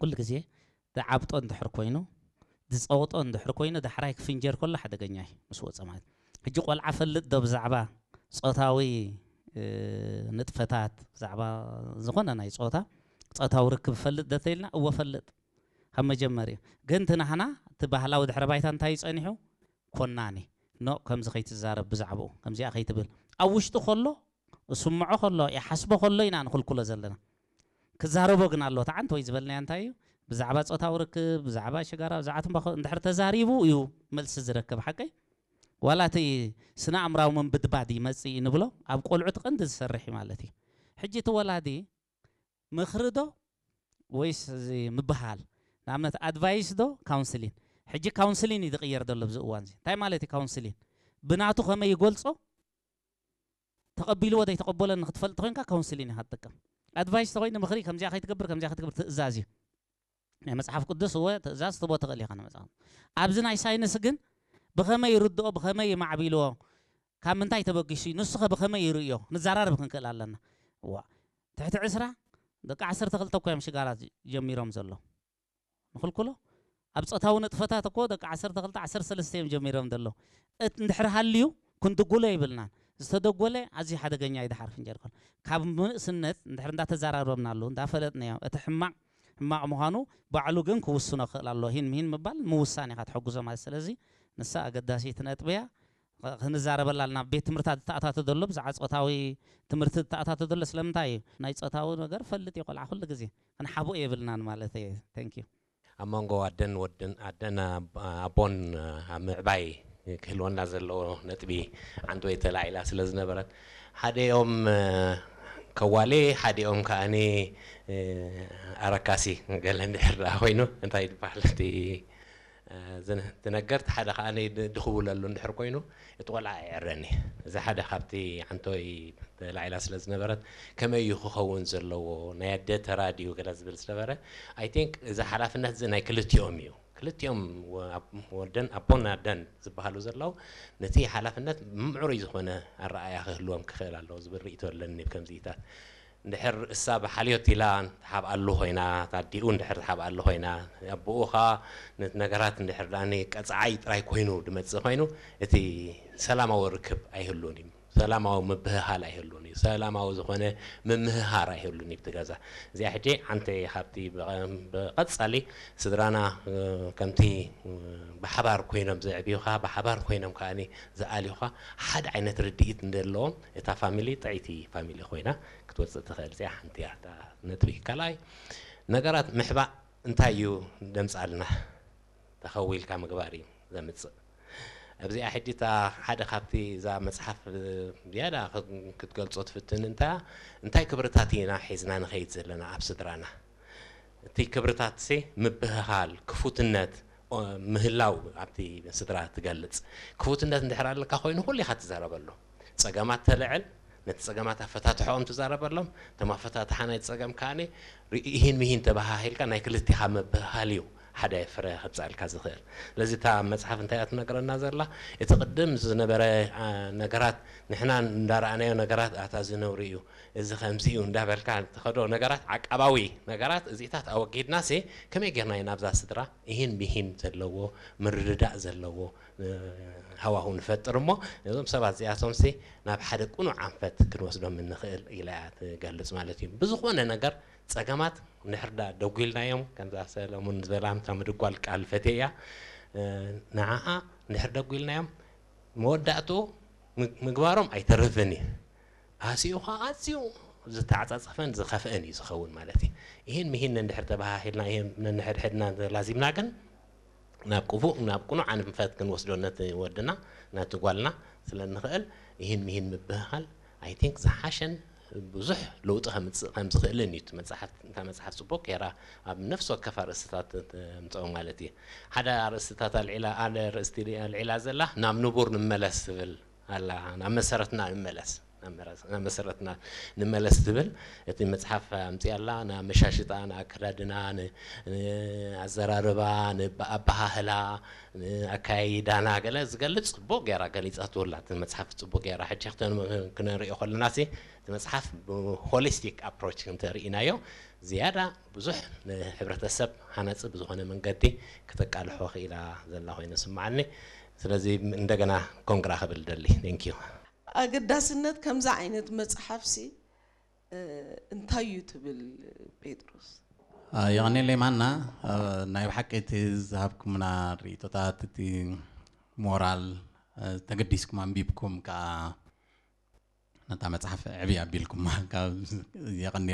ኩሉ ግዜ ዝዓብጦ እንድሕር ኮይኑ፣ ዝፀውጦ እንድሕር ኮይኑ፣ ዳሕራይ ክፍንጀር ከሎ ሓደገኛ እዩ ምስ ወፀ ማለት። ሕጂ ቆልዓ ፈልጥ ዶ ብዛዕባ ፆታዊ ንጥፈታት፣ ብዛዕባ ዝኾነ ናይ ፆታ ፆታዊ ርክብ ፈልጥ ዶ ተይልና፣ እወ ፈልጥ ካብ መጀመርያ። ግን እቲ ናህና እቲ ባህላዊ ድሕረ ባይታ እንታይ እዩ ፀኒሑ? ኮናኒ፣ ኖ፣ ከምዚ ከይትዛረብ፣ ብዛዕባኡ ከምዚኣ ከይትብል። ኣብ ውሽጡ ከሎ፣ እስምዖ ከሎ፣ ይሓስቦ ከሎ ኢና ንኽልክሎ ዘለና። ክዛረቦ ግን ኣሎ። ተዓንት ወይ ዝበልናዮ እንታይ እዩ? ብዛዕባ ፆታዊ ርክብ፣ ብዛዕባ ሽጋራ፣ ብዛዕባ ትንባኾ እንድሕር ተዛሪቡ እዩ መልሲ ዝረክብ። ሓቀይ? ዋላ እቲ ስነ ኣእምራዊ ምንብድባድ ይመፅእ እዩ ንብሎ፣ ኣብ ቆልዑ እቲ ቀንዲ ዝሰርሕ እዩ ማለት እዩ። ሕጂ እቲ ወላዲ ምኽሪ ዶ ወይስ እዚ ምብሃል? ንኣብነት ኣድቫይስ ዶ ካውንስሊን? ሕጂ ካውንስሊን እዩ ዝቕየር ዘሎ ኣብዚ እዋን እዚ። እንታይ ማለት እዩ ካውንስሊን? ብናቱ ከመይ ይገልጾ? ተቐቢልዎ ዘይተቐበሎ ንክትፈልጥ ኮይንካ ካውንስሊን ኢኻ ትጥቀም። ኣድቫይስ ተኮይኑ ምኽሪ፣ ከምዚኣ ከይትገብር፣ ከምዚኣ ከይትገብር፣ ትእዛዝ እዩ። ናይ መጽሓፍ ቅዱስ እወ ትእዛዝ ትቦ ትኽእል ኢኻ ንመጽሓፍ። ኣብዚ ናይ ሳይንስ ግን ብኸመይ ይርድኦ፣ ብኸመይ ይማዕቢልዎ፣ ካብ ምንታይ ተበጊሱ እዩ፣ ንሱኸ ብኸመይ ይርእዮ፣ ንዘራረብ ክንክእል ኣለና። ዋ፣ ትሕቲ ዕስራ፣ ደቂ ዓሰርተ ክልተ እኮ እዮም ሽጋራ ጀሚሮም ዘሎ። ንኽልክሎ? ኣብ ጾታዊ ንጥፈታት እኮ ደቂ ዓሰርተ ክልተ፣ ዓሰርተ ሰለስተ እዮም ጀሚሮም ዘሎ። እት-፣ እንድሕር ሃልዩ ክንድጉሎ የብልናን። ዝተደጎለ ኣዝዩ ሓደገኛ እዩ። ድሓር ፍንጀር ከሎ ካብ ምንእስነት እንድሕር እንዳተዘራረብናሉ፣ እንዳፈለጥናዮ፣ እቲ ሕማቕ ሕማቕ ምዃኑ ባዕሉ ግን ክውስኖ ክኽእል ኣለዎ። ሂን ምሂን ምባል ምውሳን ኢኻ ትሕግዞ ማለት። ስለዚ ንሳ ኣገዳሲት ነጥቢ እያ። ኸ-፣ ክንዛረበላ ኣለና። ኣብ ቤት ትምህርታት ዝተኣታተ ዘሎ ብዛዕባ ጾታዊ ትምህርቲ ዝተኣታተ ዘሎ ስለምንታይ እዩ? ናይ ጾታዊ ነገር ፈልጥ እዩ ቆልዓ ኩሉ ግዜ። ክንሓብኦ የብልናን ማለት እየ። Thank you። ኣብ መንጎ ኣደን ወድን፣ ኣደን ኣብ-፣ ኣቦን ኣብ ምዕባይ ክህልወና ዘለዎ ነጥቢ ዓንዲ ወይ ተላዒላ ስለ ዝነበረት፣ ሓዲኦም፣ እ፣ ከዋሊ፣ ሓዲኦም ከኣኒ፣ እ፣ ኣረካሲ ገለ እንድሕር ደኣ ኮይኑ፣ እንታይ ይበሃል እቲ፣ እ፣ ዝነ-፣ እቲ ነገር፣ እቲ ሓደ ከኣኒ ድ-፣ ድኽብለሉ እንድሕር ኮይኑ፣ እቲ ቆልዓ ኣይዕረኒ። እዚ ሓደ ካብቲ ዓንቶይ ተላዒላ ስለ ዝነበረት፣ ከመይ እዩ ክኸውን ዘለዎ፣ ናይ ኣደ ተራ ድዩ ገለ ዝብል ዝነበረ፣ I think እዚ ሓላፍነት እዚ ናይ ክልቲኦም እዩ። ክልቲኦም ወ-፣ ኣብ-፣ ወደን ኣቦን ኣደን ዝበሃሉ ዘለዉ፣ ነቲ ሓላፍነት ምዕሩይ ዝኾነ ኣረኣእያ ክህልዎም ክኽእል ኣለዎ ዝብል ርእይቶ ኣለኒ። ከምዚታት እንድሕር እሳ ብሓልዮት ኢላ ትሓብኣሉ ኮይና፣ ኣዲኡ እንድሕር ትሓብኣሉ ኮይና፣ ኣቦኡ ኸኣ ነቲ ነገራት እንድሕር ደኣኒ ቀጻዓይ ጥራይ ኮይኑ ድመጽእ ኮይኑ፣ እቲ ሰላማዊ ርክብ ኣይህሉን እዩ። ሰላማዊ ምብህሃል ኣይህሉን እዩ። ሰላማዊ ዝኾነ ምምህሃር ኣይህሉን እዩ ኣብቲ ገዛ። እዚኣ ሕጂ ሓንቲ ካብቲ ብቐ-፣ ብቐጻሊ ስድራና፣ እ፣ ከምቲ፣ እ፣ ብሓባር ኮይኖም ዘዕብዩኻ፣ ብሓባር ኮይኖም ከኣኒ ዝኣልዩኻ፣ ሓደ ዓይነት ርድኢት እንደለዎም እታ ፋሚሊ ጥዕይቲ ፋሚሊ ኮይና ክትወጽእ ትኽእል። እዚኣ ሓንቲ እያ እታ ነጥቢ። ካልኣይ፣ ነገራት ምሕባእ እንታይ እዩ ደምጻልና? ተኸዊልካ ምግባር እዩ ዘምጽእ። ኣብዚኣ ሕጂ እታ ሓደ ካብቲ እዛ መጽሓፍ ዝያዳ ክት-፣ ክትገልጾ ትፍትን እንታ፣ እንታይ ክብርታት ኢና ሒዝና ንኸይድ ዘለና ኣብ ስድራና? እቲ ክብርታትሲ ምብህሃል፣ ክፉትነት፣ ኦ፣ ምህላው ኣብቲ ስድራ ትገልጽ። ክፉትነት እንድሕር ኣለካ ኮይኑ ኩሉ ኢኻ ትዛረበሉ። ጸገማት ተልዕል፣ ነቲ ጸገማት ኣፈታትሖኦም ትዛረበሎም። እቶም ኣፈታትሓ ናይ ጸገም ከኣኒ ርኢ-፣ ኢሂን ምሂን ተበሃሂልካ ናይ ክልቲኻ ምብህሃል እዩ ሓደ ፍረ ከብጻልካ ዝኽእል። ስለዚ እታ መጽሓፍ እንታይ እያ ትነግረና ዘላ? እቲ ቅድም ዝነበረ፣ ኣ፣ ነገራት፣ ንሕና እንዳረኣናዮ ነገራት፣ ኣታ እዚ ነውሪ እዩ፣ እዚ ከምዚ እዩ እንዳበልካ ትኸዶ ነገራት፣ ዓቃባዊ ነገራት እዚታት ኣወጊድናሲ ከመይ ጌርና ኢና ኣብዛ ስድራ ኢሂን ምሂን ዘለዎ፣ ምርድዳእ ዘለዎ፣ እ፣ ሃዋሁ ንፈጥር እሞ፣ ነዞም ሰባት እዚኣቶምሲ ናብ ሓደ ቅኑዕ ኣንፈት ክንወስዶም እንኽእል ኢላ እያ ትገልጽ ማለት እዩ። ብዝኾነ ነገር ጸገማት እንድሕር ዳ ደጒልናዮም፣ ከምዛ ሰለሙን ዝበላ እታ ምድጓል ቃል ፈትየ እያ፣ እ፣ ንዓኣ እንድሕር ደጒልናዮም፣ መወዳእትኡ ም-፣ ምግባሮም ኣይተርፍን እዩ። ኣስኡ ኸዓ ኣዝዩ ዝተዓጻጸፈን ዝኸፍአን እዩ ዝኸውን ማለት እዩ። ይህን ምሂን እንድሕር ተበሃሂልና፣ ይህን ነንሕድሕድና ተላዚብና ግን፣ ናብ ቅቡእ፣ ናብ ቅኑዕ ኣንፈት ክንወስዶ ነቲ ወድና፣ ነቲ ጓልና ስለ እንኽእል፣ ይህን ምሂን ምብህሃል፣ I think፣ ዝሓሸን ብዙሕ ለውጢ ከምጽእ ከም ዝኽእልን እዩ። እቲ መጽሓፍ፣ እታ መጽሓፍ ጽቡቕ ጌራ ኣብ ነፍሲ ወከፍ ኣርእስትታት ተምጽኦ ማለት እዩ። ሓደ ኣርእስትታት ኣልዒላ፣ ሓደ ኣርእስቲ ኣልዒላ ዘላ፣ ናብ ንቡር ንመለስ ዝብል ኣላ፣ ናብ መሰረትና ንመለስ። ናብ መሰረትና ንመለስ ትብል። እቲ መፅሓፍ ኣምፅኣላ፣ ንኣመሻሽጣ፣ ንኣከዳድና፣ ንኣዘራርባ፣ ንኣበሃህላ፣ ንኣካያይዳና ገለ ዝገልፅ ፅቡቅ ገይራ ገሊፃትውላ። እቲ መፅሓፍ ፅቡቅ ገይራ ሕጂ ክነሪኦ ከለና ሲ እቲ መፅሓፍ ብሆሊስቲክ ኣፕሮች እንተርኢናዮ ዝያዳ ብዙሕ ንሕብረተሰብ ሃናፂ ብዝኾነ መንገዲ ክተቃልሖ ክኢላ ዘላ ኮይኑ ስምዓኒ። ስለዚ እንደገና ኮንግራ ክብል ደሊ። ቴንኪዩ። ኣገዳስነት ከምዚ ዓይነት መፅሓፍሲ እንታይ እዩ ትብል ጴጥሮስ? የቐኔለይ ማና። ናይ ብሓቂ እቲ ዝሃብኩምና ርእቶታት፣ እቲ ሞራል፣ ተገዲስኩም ኣንቢብኩም ከዓ ነታ መፅሓፍ ዕብይ ኣቢልኩማ። የቐኔ